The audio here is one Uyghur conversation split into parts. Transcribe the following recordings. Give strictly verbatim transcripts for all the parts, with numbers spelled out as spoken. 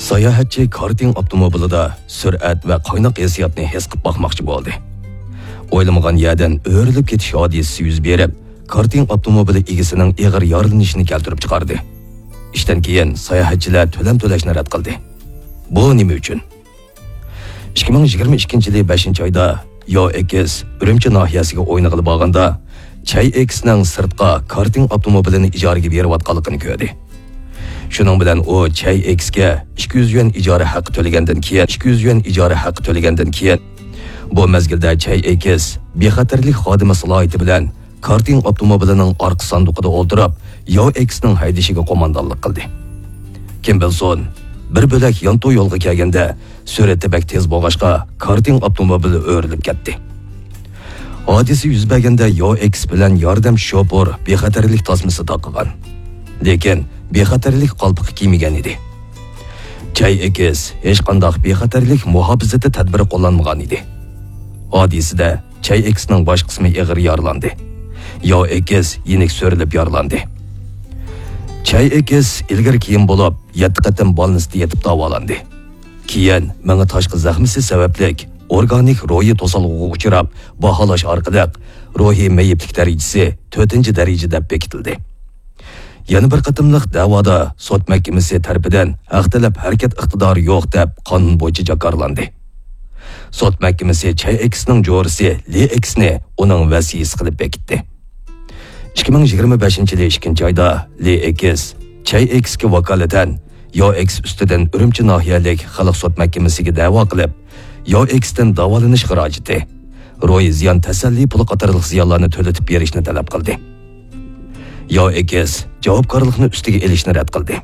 ساياھەتچى كارتىنگ ئاپتوموبىلىدا سۈرئەت ۋە قايناق ھېسسىياتنى ھېس قىلىپ باقماقچى بولدى. ئويلىمىغان يەردىن ئۆرۈلۈپ كېتىش ھادىسىسى يۈز بېرىپ، كارتىنگ ئاپتوموبىلى ئىگىسىنىڭ ئېغىر يارىلىنىشىنى كەلتۈرۈپ چىقاردى. ئىشتىن كېيىن ساياھەتچىلەر تۆلەم تۆلەشنى رەت قىلدى. بۇ نېمە ئۈچۈن؟ ئىككى مىڭ يىگىرمە ئىككىنچى يىلى بەشىنچى ئايدا ياۋ ئېكس ئۈرۈمچى ناھىيەسىگە ئوينىغىلى بارغاندا، چەي ئېكسنىڭ سىرتقا كارتىنگ ئاپتوموبىلىنى ئىجارىگە بېرىۋاتقانلىقىنى كۆردى. شۇنىڭ بىلەن ئۇ چەي ئېكسكە ئىككى يۈز يۈەن ئىجارە ھەققى تۆلىگەندىن كېيىن، ئىككى يۈز يۈەن ئىجارە ھەققى تۆلىگەندىن كېيىن، بۇ مەزگىلدە چەي ئېكس بىخەتەرلىك خادىمى سالاھىيىتى بىلەن كارتىنگ ئاپتوموبىلىنىڭ ئارقا ساندۇقىدا ئولتۇرۇپ، ياۋ ئېكسنىڭ ھەيدىشىگە قوماندانلىق قىلدى. كىم بىلسۇن، بىر بۆلەك يانتۇ يولغا كەلگەندە، سۈرئىتى بەك تېز بولغاچقا، كارتىنگ ئاپتوموبىلى ئۆرۈلۈپ كەتتى. ھادىسە يۈز بەرگەندە ياۋ ئېكس بىلەن ياردەمچى شوپۇر بىخەتەرلىك تاسمىسى تاقىغان. لېكىن بىخەتەرلىك قالپىقى كىيمىگەن ئىدى. چەي ئېكس ھېچقانداق بىخەتەرلىك مۇھاپىزىتى تەدبىرى قوللانمىغان ئىدى. ھادىسىدە چەي ئېكسنىڭ باش قىسمى ئېغىر يارىلاندى. ياۋ ئېكس يېنىك سۆرىلىپ يارىلاندى. چەي ئېكس ئىلگىرى كېيىن بولۇپ، يەتتە قېتىم بالنىستتا يېتىپ داۋالاندى. كېيىن مېڭە تاشقى زەخمىسى سەۋەبلىك ئورگانىك روھىي توسالغۇغا ئۇچراپ، باھالاش ئارقىلىق روھىي مېيىپلىك دەرىجىسى تۆتىنچى دەرىجە دەپ بېكىتىلدى. يەنە بىر قېتىملىق دەۋادا سوت مەھكىمىسى تەرىپىدىن ھەق تەلەپ ھەرىكەت ئىقتىدارى يوق دەپ قانۇن بويىچە جاكارلاندى. سوت مەھكىمىسى چەي ئېكسنىڭ جورىسى لى ئېكسنى ئۇنىڭ ۋەسىيىسى قىلىپ بېكىتتى. ئىككى مىڭ يىگىرمە بەشىنچى يىلى ئىككىنچى ئايدا لى ئېكس چەي ئېكسكە ۋاكالىتەن ياۋ ئېكس ئۈستىدىن ئۈرۈمچى ناھىيەلىك خەلق سوت مەھكىمىسىگە دەۋا قىلىپ، ياۋ ئېكستىن داۋالىنىش خىراجىتى، روھىي زىيان تەسەللى پۇلى قاتارلىق زىيانلارنى تۆلىتىپ بېرىشنى تەلەپ قىلدى. ياۋ ئېكس جاۋابكارلىقنى ئۈستىگە ئېلىشنى رەت قىلدى.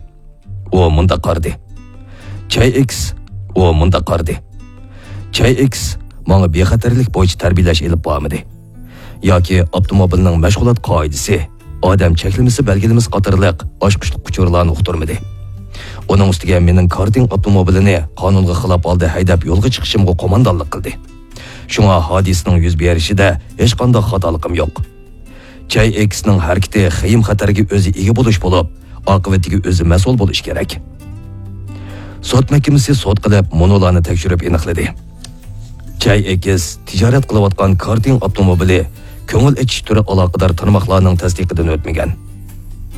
ئۇ مۇنداق قارىدى: چەي ئېكس، ئۇ مۇنداق قارىدى: چەي ئېكس ماڭا بىخەتەرلىك بويىچە تەربىيەلەش ئېلىپ بارمىدى. ياكى ئاپتوموبىلنىڭ مەشغۇلات قائىدىسى، ئادەم چەكلىمىسى بەلگىلىمىسى قاتارلىق ئاچقۇچلۇق ئۇچۇرلارنى ئۇقتۇرمىدى. ئۇنىڭ ئۈستىگە مېنىڭ كارتىنگ ئاپتوموبىلىنى قانۇنغا خىلاپ ھالدا ھەيدەپ يولغا چىقىشىمغا قوماندانلىق قىلدى. شۇڭا ھادىسىنىڭ يۈز بېرىشىدە ھېچقانداق خاتالىقىم يوق. چەي ئېكسنىڭ ھەرىكىتى خېيىم-خەتەرگە ئۆزى ئىگە بولۇش بولۇپ، ئاقىۋىتىگە ئۆزى مەسئۇل بولۇش كېرەك. سوت مەھكىمىسى سوت قىلىپ، مۇنۇلارنى تەكشۈرۈپ ئېنىقلىدى. چەي ئېكس تىجارەت قىلىۋاتقان كارتىنگ ئاپتوموبىلى كۆڭۈل ئېچىش تۈرى ئالاقىدار تارماقلارنىڭ تەستىقىدىن ئۆتمىگەن.